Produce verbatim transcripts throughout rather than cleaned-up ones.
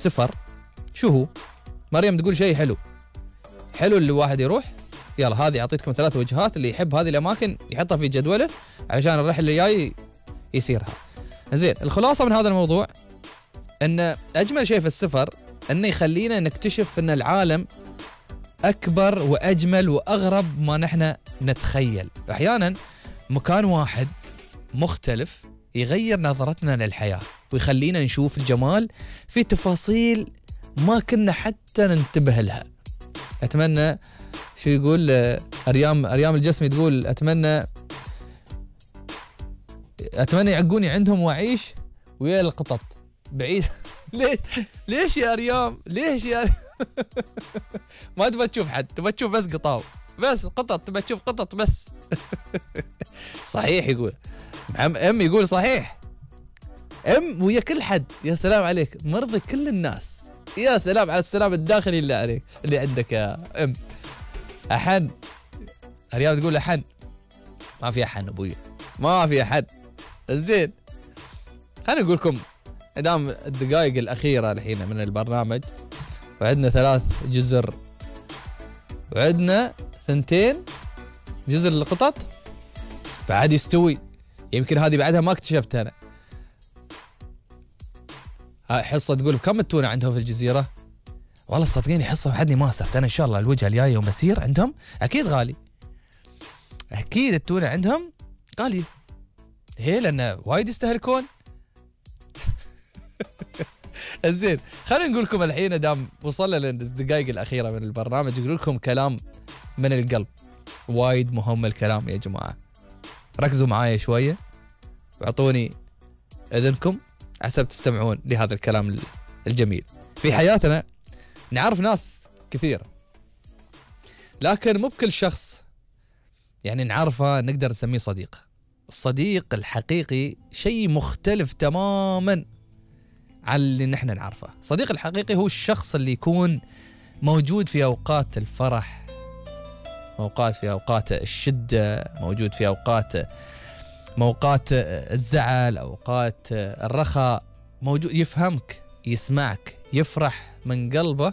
السفر شو هو؟ مريم تقول شيء حلو حلو اللي واحد يروح. يلا هذه أعطيتكم ثلاث وجهات، اللي يحب هذه الأماكن يحطها في جدوله علشان الرحلة اللي جاي يسيرها. زين، الخلاصة من هذا الموضوع أن أجمل شيء في السفر أنه يخلينا نكتشف أن العالم أكبر وأجمل وأغرب ما نحن نتخيل. أحيانا مكان واحد مختلف يغير نظرتنا للحياة ويخلينا نشوف الجمال في تفاصيل ما كنا حتى ننتبه لها. أتمنى شو يقول أريام أريام الجسمي تقول أتمنى أتمنى يعقوني عندهم وأعيش ويا القطط بعيد. ليش ليش يا أريام ليش يا أريام؟ ما تبى تشوف حد، تبى تشوف بس قطاو، بس قطط، تبى تشوف قطط بس. صحيح يقول ام يقول صحيح ام ويا كل حد. يا سلام عليك، مرضي كل الناس. يا سلام على السلام الداخلي اللي عليك اللي عندك يا ام. أحن أريام تقول أحن، ما في أحن أبوي، ما في أحد. زين، خلينا نقول لكم دام الدقائق الأخيرة الحين من البرنامج، وعندنا ثلاث جزر وعندنا ثنتين جزر القطط بعد يستوي. يمكن هذه بعدها ما اكتشفتها أنا. هاي حصة تقول كم التونة عندهم في الجزيرة؟ والله صدقيني حصة بعدني ما صرت. أنا إن شاء الله الوجهة الجاية يوم أسير عندهم أكيد غالي، أكيد التونة عندهم غالية. هي لأن وايد يستهلكون. زين، خلينا نقول لكم الحين دام وصلنا للدقائق الأخيرة من البرنامج، نقول لكم كلام من القلب. وايد مهم الكلام يا جماعة، ركزوا معايا شوية واعطوني إذنكم حسب تستمعون لهذا الكلام الجميل. في حياتنا نعرف ناس كثير، لكن مو بكل شخص يعني نعرفه نقدر نسميه صديق. الصديق الحقيقي شيء مختلف تماما عن اللي نحن نعرفه. الصديق الحقيقي هو الشخص اللي يكون موجود في أوقات الفرح، أوقات في أوقات الشدة، موجود في أوقات موقات الزعل، أوقات الرخاء، موجود يفهمك، يسمعك، يفرح من قلبه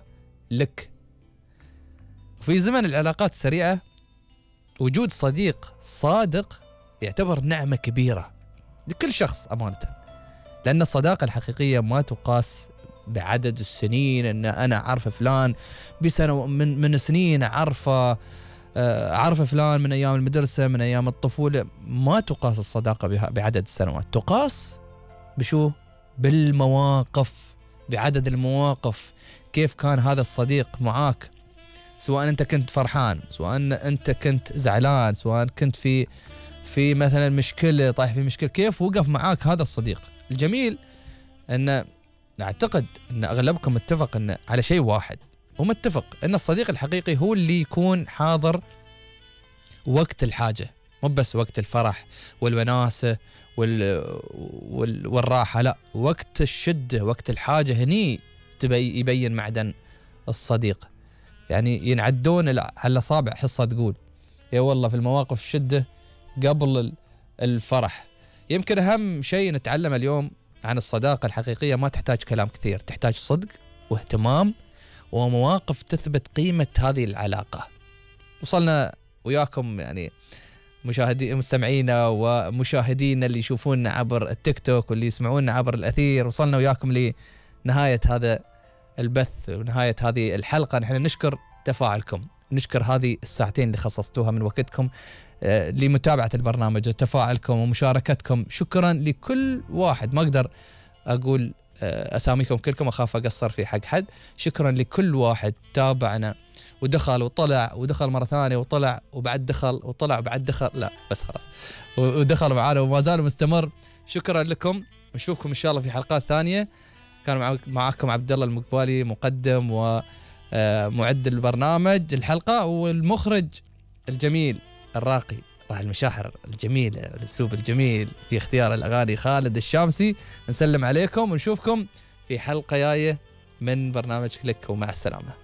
لك. وفي زمن العلاقات السريعة وجود صديق صادق يعتبر نعمة كبيرة لكل شخص أمانة، لأن الصداقة الحقيقية ما تقاس بعدد السنين. أن أنا أعرف فلان بسنة من من سنين، أعرفه أعرف فلان من أيام المدرسة، من أيام الطفولة. ما تقاس الصداقة بعدد السنوات، تقاس بشو؟ بالمواقف، بعدد المواقف. كيف كان هذا الصديق معاك، سواء أنت كنت فرحان، سواء أنت كنت زعلان، سواء كنت في في مثلا مشكلة، طايح في مشكلة، كيف وقف معاك هذا الصديق. الجميل أن أعتقد أن أغلبكم متفق أن على شيء واحد، ومتفق أن الصديق الحقيقي هو اللي يكون حاضر وقت الحاجة، مو بس وقت الفرح والوناسة وال... وال... والراحة، لا، وقت الشدة، وقت الحاجة، هني تبي يبين معدن الصديق. يعني ينعدون على الأصابع حصة تقول يا والله في المواقف الشدة قبل الفرح. يمكن أهم شيء نتعلم اليوم عن الصداقة الحقيقية ما تحتاج كلام كثير، تحتاج صدق واهتمام ومواقف تثبت قيمة هذه العلاقة. وصلنا وياكم يعني مشاهدي مستمعينا ومشاهدينا اللي يشوفونا عبر التيك توك واللي يسمعونا عبر الأثير، وصلنا وياكم لنهاية هذا البث ونهاية هذه الحلقة. نحن نشكر تفاعلكم، نشكر هذه الساعتين اللي خصصتوها من وقتكم آه لمتابعة البرنامج وتفاعلكم ومشاركتكم. شكرا لكل واحد، ما أقدر أقول آه أساميكم كلكم، أخاف أقصر في حق حد. شكرا لكل واحد تابعنا ودخل وطلع ودخل مرة ثانية وطلع وبعد دخل وطلع وبعد دخل، لا بس خلاص، ودخل معانا وما زال مستمر. شكرا لكم، نشوفكم إن شاء الله في حلقات ثانية. كان معكم عبد الله المقبالي، مقدم ومعد البرنامج الحلقة، والمخرج الجميل الراقي راعي المشاعر الجميل الأسلوب الجميل في اختيار الأغاني خالد الشامسي. نسلم عليكم ونشوفكم في حلقة جاية من برنامج كليك، ومع السلامة.